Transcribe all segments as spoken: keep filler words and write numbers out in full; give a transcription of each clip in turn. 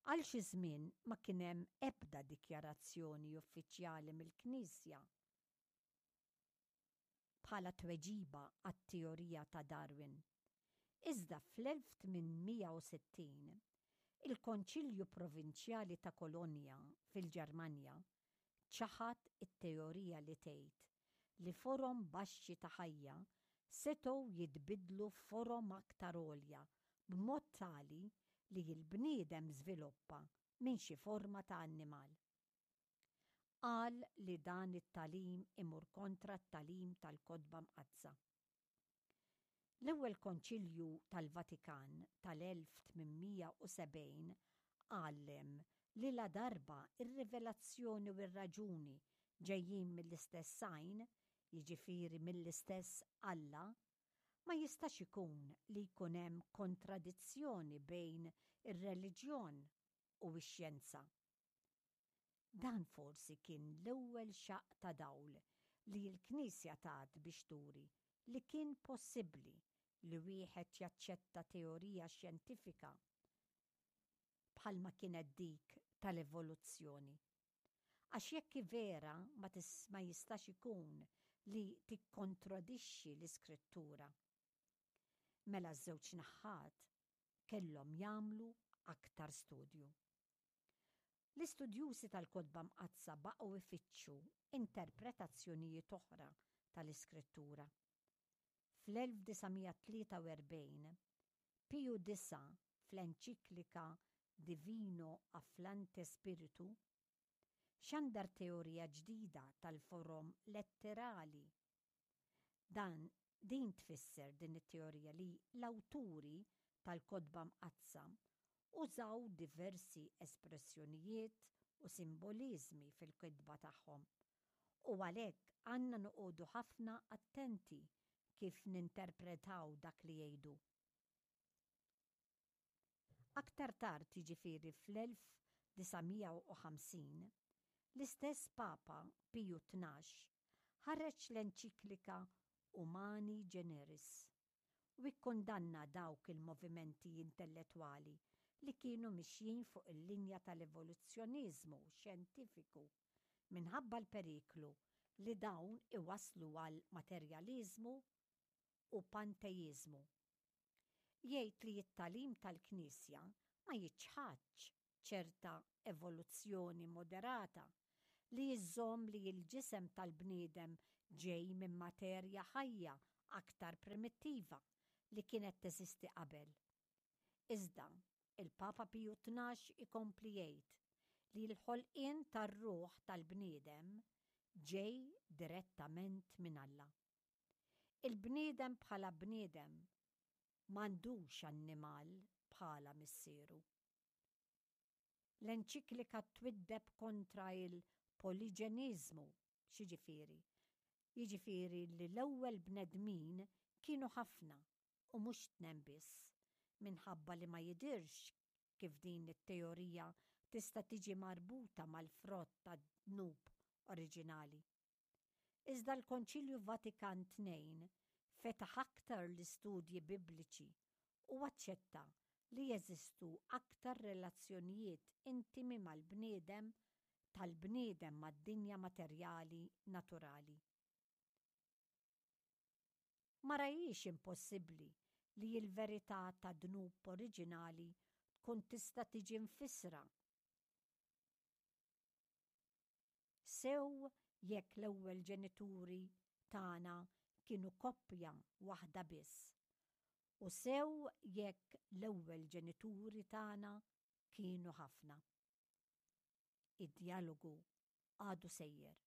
Għal xi żmien ma kien hemm ebda dikjarazzjoni uffiċjali mill-Knisja bħala tweġiba għat-teorija ta' Darwin. Iżda fl-elf tmien mija u sittin, il-Konċilju Provinċjali ta' Kolonja fil-Ġermanja ċaħad it-teorija li tgħid li forom baxxi ta' ħajja setgħu jitbidlu f'forom aktar għolja b'mod tali li l-bniedem żviluppa minn xi forma ta' annimal. Qal li dan it-tagħlim imur kontra t-tagħlim tal-Kotba Mqaddsa. L-ewwel Konċilju tal-Vatikan tal-elf tmien mija u sebgħin għallem li ladarba ir-rivelazzjoni u r-raġuni ġejjin mill-istess għajn, jiġifieri mill-istess Alla, ma jistax ikun li jkun hemm kontradizzjoni bejn ir-reliġjon u x-xjenza. Dan forsi kien l-ewwel xaqq ta' dawl li l-Knisja tat biex turi li kien possibbli li wieħed jaċċetta teorija xjentifika bħalma kienet dik tal-evoluzzjoni. Għax jekk vera ma tis-, ma jistax ikun li tikkontradixxi l-iskrittura. Mela ż-żewġ naħat kellhom jagħmlu aktar studju. L-istudjużi tal-Kotba Mqaddsa baqgħu ifittxu interpretazzjonijiet oħra tal-iskrittura. Fl-elf disa' mija tlieta u erbgħin, Piju disa' fl-enċiklika Divino Afflante Spiritu xandar teorija ġdida tal-forom letterali. Dan din tfisser din it-teorija li l-awturi tal-Kotba Mqaddsa użaw diversi espressjonijiet u simbolizmi fil-kitba tagħhom. U għalhekk għandna noqogħdu ħafna attenti kif ninterpretaw dak li jgħidu. Aktar tard, jiġifieri fl-elf disa' mija u ħamsin, l-istess Papa Piju tnax ħareġ l-enċiklika Humani Generis u ikkundanna dawk il-movimenti intellettwali li kienu mixjin fuq il-linja tal-evoluzzjonizmu xjentifiku minħabba l-periklu li dawn iwasslu għal materjalizmu u panteizmu. Jgħid li t-tagħlim tal-Knisja ma jiċħadx ċerta evoluzzjoni moderata li jżomm li l-ġisem tal-bniedem ġej minn materja ħajja aktar primittiva li kienet teżisti qabel. Iżda, il-Papa Piju tnax ikompli jgħid li l-ħolqien tar-ruħ tal-bniedem ġej direttament minn Alla. Il-bniedem bħala bniedem m'għandux annimal bħala missieru. L-enċiklika twiddeb kontra il-poliġeniżmu, x'jiġifieri? Jiġifieri li l-ewwel bnedmin kienu ħafna u mhux tnejn biss, minħabba li ma jidirx kif din it-teorija tista' tiġi marbuta mal-frott tad-dnub oriġinali. Iżda l-Konċilju Vatikan tnejn fetaħ aktar l-istudji bibliċi u aċċetta li jeżistu aktar relazzjonijiet intimi mal-bniedem tal-bniedem mad-dinja materjali naturali. Ma rajiex impossibbli li l-verità ta' dnub oriġinali tkun tista' tiġi mfissra. Sew jekk l-ewwel ġenituri tagħna kienu koppja waħda biss, u sew jekk l-ewwel ġenituri tagħna kienu ħafna. Id-dialogu għadu sejjer.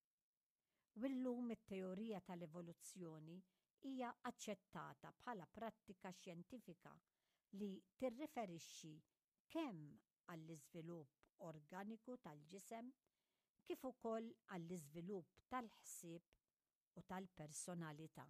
U llum it-teorija tal-evoluzzjoni hija aċċettata bħala prattika xjentifika li tirriferixxi kemm għall-iżvilupp organiku tal-ġisem kif ukoll għall-iżvilupp tal-ħsieb u tal-personalità.